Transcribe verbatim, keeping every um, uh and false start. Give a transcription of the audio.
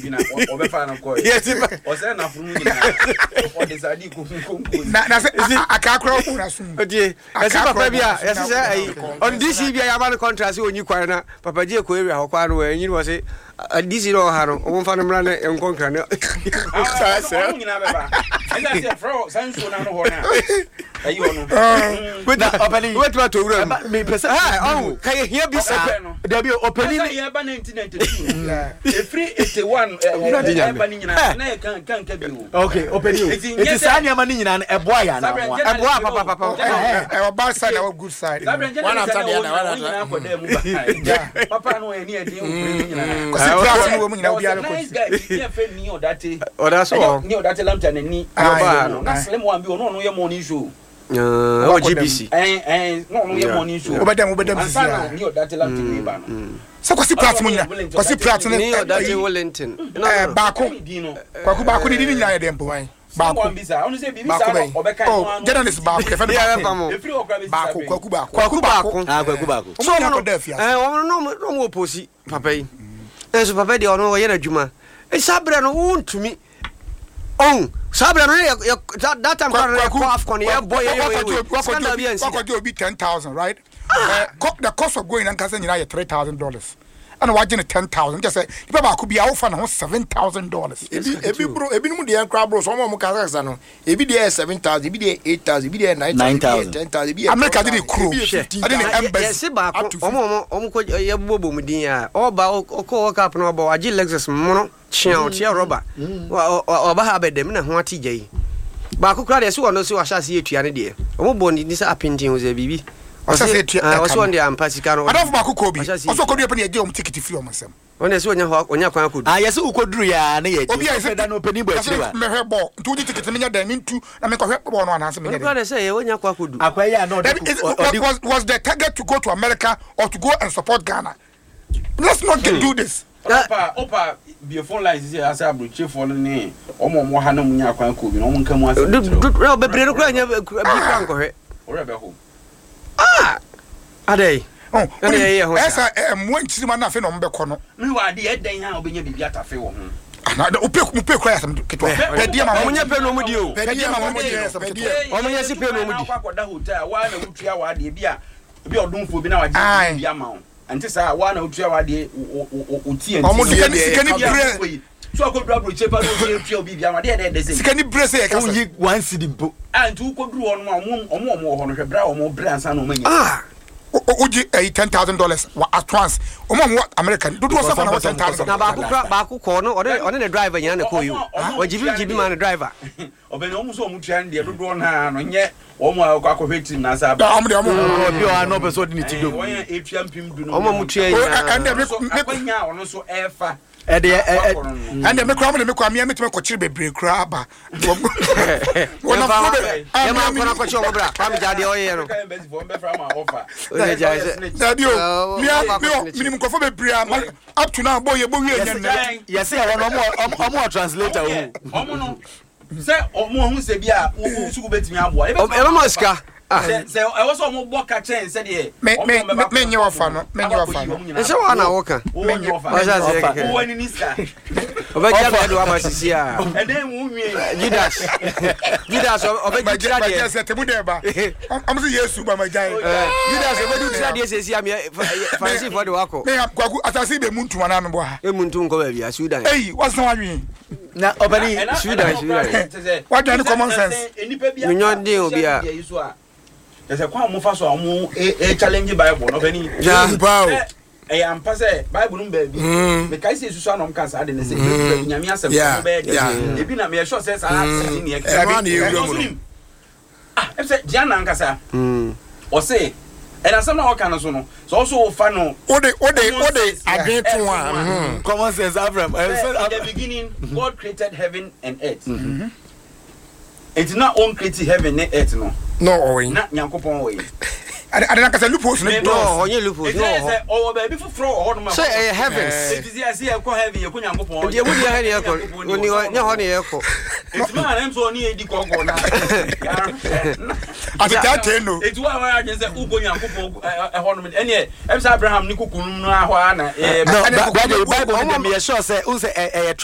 Bi na ɔbɛfa no kɔɛ. Yɛsi pa- Ɔsɛ n'afunu nyinaa ɔde saa di konkonko. Na na sɛ aka akora ɔmo na sum. Otie, yɛsi papa bi a yɛsi sɛ ɛyi ɔno D C bi a yaba no contract sɛ onyi kwan na Papa Gye kɔ area hɔ kwan no wɔ ɛnyi wɔ se D C na ɔha no, ɔmo nfa no mmra ne nkɔ nkra ne. Ɔmo nyinaa bɛba ɛsɛ sɛ frɛ wɔ saa nsuo n'ano hɔ no a ɛyi hɔ no. Na ɔpɛni wobɛtumi atɔ wura mu. Ɛba- mepɛ sɛ Ɛ, ɔho ka yɛ hia bi saa. Ɔpɛ no. Dabi, ɔpɛni Ɔpɛni ne yɛ ba nineteen ninety-two, efiri eighty-one Awurade Nyame. ɛba ne nyinaa na yɛ kan kan ka bi o. Okay, ɔpɛni o. Eti nyɛ eti sɛ- saa nneɛma no nyinaa no, ɛboa yɛ anaa Sabrɛ, mmoa? Ɛboa papapapa. Ɛwɔ bad side na ɛwɔ good side. One after the other, one after- Yeah. Papa no ɛni ɛdin okure ne nyinaa. Kɔsi class no wɔ mu nyinaa, obiara There was a kɔ. nice guy bi yɛ fɛ ni ɔdate. Ɔda so wɔ Ni ɔdate lamta n'ani. Ah, ɔbaa no. Na slim one bi, ɔno ɔno yɛ morning show. Ɛwɔ G B C. Ɛn ɛn na ɔno yɛ morning show. Wobɛdam wobɛdam sisi Ansa na a. ni ɔdate lamta ne ba no. Sɛ Kwasi Prat mu nyina, Kwasi Prat ne ni ɔdate ɛyi, Wellington. ɛɛ, baako Ne din no. Kwaku baako ne di ne nyinaa yɛ dɛ mpo wan baako. One bi sa ɔno sɛ biribi Baako saa na bɛyi ɔbɛka. Oh, journalist baako yɛfɛ no yɛ bɛ baako. fam o. Efiri hɔ kora bɛsi Baako saa bere. Kwaku baako. Kwaku baako. Ah, Kwaku baako. Ɔmo nyinaa kɔ da afiase. Ɛɛ, wɔn no na ɔmo oposi papa yi, ɛnso papa yi deɛ, ɔno ɔyɛ n'adwuma. Saa berɛ no wontumi ɔn saa berɛ no yɛ yɛ that that time kora no yɛ kɔ AFCON, yɛ bɔ yɛ yɛ wei scandal bi ansi da. Wakɔgye obi ten thousand, right? Eh, co- the cost of going ankasa nyinaa yɛ three thousand dollars, ɛna wagye ne ten thousand, kyɛ sɛ nipa baako bi a wofa ne ho seven thousand dollars. Ebi ebi bro, ebinom deɛ nkora bro so ɔmo a ɔmo kasa kasa no, ebi deɛ yɛ seven thousand, ebi deɛ yɛ eight thousand, ebi deɛ yɛ nine thousand, ebi deɛ yɛ ten thousand, ebi yɛ America de ne twelve thousand, kuro ebi yɛ fifteen ɛde ne thousand. embassy Yɛsi baako up to ɔmo ɔmo ɔmo kɔ yɛbobɔ bɔ mu din a ɔba ɔkɔ World Cup no, ɔbɔ wagye Lexus mono kyea ɔkyea rɔba. Wa- ɔ- ɔ- ɔba ha abɛdɛm na ho ate gya yi baako koraa deɛ, sɛ ɔno sɛ wahyɛ ase yɛtua no deɛ, ɔmo bɔ ne ni sɛ apenten ho sɛ biribi. Ɔhyɛ ase etua Ah, ɛka ɔsɛ no. ɔno deɛ ampa sika no. Adamfo baako kɔ bi Ɔhyɛ ase ɔsɛ ɔkɔdu yɛ pɛ ne yɛgye ɔmo ticket firi ɔmo nsɛm. Ɔno deɛ sɛ ɔnya hɔ, ɔnya kwan akɔdu. Ah, yɛsɛ wokɔduru yɛ a ne yɛ Obi a yɛsɛ da no ɔpɛni bɔ akyire wa. Mɛhwɛ bɔɔl nti wogye ticket, menyɛ dɛn mentu na menkɔhwɛ bɔɔl no anaasɛ Ɔno menyɛ koraa dɛn? deɛ sɛ yɛ ɔnya kwan akɔdu. Akwa yi a na ɔde Dabi, is- ɔde was, was the target to go to America or to go and support Ghana? Let's not get, do this. Opa opa bie phone lines sisi ase, aburokyefoɔ no ne ɔmo a ɔmo ha na ɔmo nya akwan kɔ bi na ɔmo nka mu asɛm Du- kyerɛ du- na bebree no koraa nya bi koraa nkɔhwɛ. Ɔrɛ bɛ ho. Ah, adɛn? Oh, Ɛna yɛyɛ ho saa. ɛsɛ ɛ, mmoa nkyirima no afei na ɔmo bɛkɔ no. Mi wɔ adeɛ ɛdɛn ha a wobɛnya biribi atafe wɔ ho. Ana wopɛ mopɛ kura yɛ asɛm ketewa. Pɛdeɛ ma ɔmo mo nyɛ pɛ na ɔmo di o. Pɛdeɛ ma mo di yɛ asɛm ketewa. Ɔmo nyɛ si pɛ na ɔmo di. Akɔ akɔda hotel waa na wotua w'adeɛ bi a bi a ɔdomfoɔ bi na wagye Aye. bi ama wo, nti saa waa na wotua w'adeɛ o ti. Ɔmo Sika deɛ ni sika ni deɛ brɛ So akɔduru aburokye pa na obi etua obi bi ama deɛ ɛdɛ ɛdɛ sɛ sika ni brɛ sɛ yɛka sɛ Wonyi one cedi mpo. A nti wokɔduru hɔ nom a, ɔmo ɔmo ɔmo wɔ hɔ no, hwɛ brɛ a ɔmo brɛ ansa na ɔmo anya. Ah. o- o- wogye ɛyi ten thousand dollars wɔ at once. Ɔmo a ɔmo wɔ America dodoɔ sɛ na wɔ ten thousand. Na baako kora, baako kɔɔ no, ɔne ɔne ne driver nyinaa na kɔɔ yi o. Ɔmo- ɔmo- Ɔgyibi gyibi ma ne driver. Ɔbɛn ɔmo sɛ ɔmo tua no deɛ dodoɔ naa no nyɛ ɔmo a ɔkɔ akɔhwɛ team na asa aba. Ɔmo deɛ ɔmo Obi wɔ ha na ɔpɛ sɛ ɔde ne ti dom. Wɔn yɛ etua mpem du no. Ɔmo a mo tua O, nyinaa. ɛ- ɛnna Ɔno nso me- me- akwanya a ɔno nso ɛɛfa. Ɛde ɛ ɛ Ɛnna me kura mo de me kura mi ɛmi tɛmɛ kɔkyere bebree kura aba. Wɔn afɔ bɛ Yɛma nkɔ na kɔkyɛ ɔmo bra Kwame gya deɛ ɔyɛ no. Ɔyɛ gya sɛ Dabi o, Ɔ- mi a ɔkɔ mi akɔkyere o minim nkɔfɔ bebree a ma- up to now bɔ yɛ bɔ wie nyɛ nnɛ. Yɛsɛ ɛhɔ no, ɔmo wɔ- ɔmo wɔ translator o. Ɔmo no sɛ ɔmo ɔho sɛ bi a wo sugu bɛtumi aboa. Ɛbɛma sika. Ah. sɛ sɛ ɛwɔ sɛ ɔmo bɔ ka kyɛn sɛdeɛ Me- me- me- me nye wɔfa no, me nye wɔfa no. Ɛsɛ wɔn na wɔka. Wɔnyɛ wɔfa. Ɔhyɛ aseɛ kɛkɛ. Wowɔ ani ni sika. Ɔbɛgye abɛɛ de waba sisi a. Ɛdɛn mu nwie? Judas, Judas ɔbɛgye tira Bàjẹ́ deɛ. sɛ tẹmu dɛ ba ɔmo sɛ Yesu ba ma gya ye. Judas ɔbɛgye tira deɛ sɛsi a Farisifoɔ de wakɔ. Ne ya Kwaku asase bɛ mu ntoma naa mi bɔ ha. Emu ntum nkɔ baabi a Sudan. Eyi wasan wa nwi. Na ɔbɛni Sudan, Sudan. Wadwane common sense. Menyɔ den obi a. Kyɛ kwan a mofa so a ɔmo e e challenge Bible no, ɔbɛni. Ja. Paa o. Sɛ ɛyɛ ampa sɛ Bible no mu baabi mekae sɛ esusu anɔm ka saa de ne sɛ baabi Nyame asɛm Yeah, ɔmo bɛyɛ yeah. de ebi na meyɛ sure sɛ saa sisi ne ɛkɛ. Ɛno a na yɛwura mu no. Ah, ɛfɛ sɛ Gianna ankasa Mm. ɔse ɛna asɛm na ɔka no so no sɛ ɔso wofa no Wode wode wode adwene to a mhm. Common sense Abraham. Sɛ in the beginning God created heaven and earth, enti na ɔn create heaven ne earth no na ɔwɔ yi na Nyankopɔn wɔ yi. Ade ade nankasa loopholes ne Me- No, dɔɔso. ɔnyɛ loopholes Enti no ɛyɛ wɔ hɔ. sɛ ɔwɔ baabi foforɔ wɔ hɔ nom a Sɛ ɛyɛ heavens. Enti sɛ yɛsɛ yɛkɔ heaven, yɛkɔ Nyankopɔn. Nti emu deɛ hɛ ne yɛkɔ. Oni hɔ nyɛ hɔ ne yɛkɔ. Enti maa na nso ɔne yɛdi kɔkɔ na Ate tɛɛtɛɛ no. Enti wo a wɔyɛ adwene sɛ wokɔ Nyankopɔn ɛ- ɛhɔ nom ɛneɛ ɛm sɛ Abraham ne kuku nom no ahɔ a na ɛyɛ No, Ɛne Bible kɔkɔ- Bible no deɛ, meyɛ sure sɛ n sɛ ɛyɛ